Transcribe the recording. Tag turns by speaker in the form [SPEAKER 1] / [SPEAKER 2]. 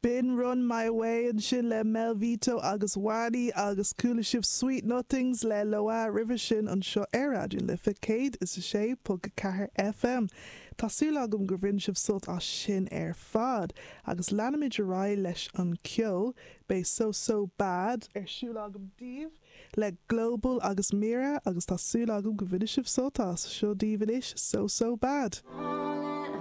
[SPEAKER 1] B'in Run My Way ansin le Mel Vito agus Wani agus chuala sibh Sweet Nothings le Loah roimhe sin anseo ar Raidió na Life 106.4 FM. Tá súil agam gur bhain sibh sult as sin ar fad agus leanfaimid ar aghaidh leis an ceol. Beidh So So Bad ar siúl agam daoibh le Global agus Mira agus tá súil agam go bhainfidh sibh sult as. Seo daoibh anois So So Bad.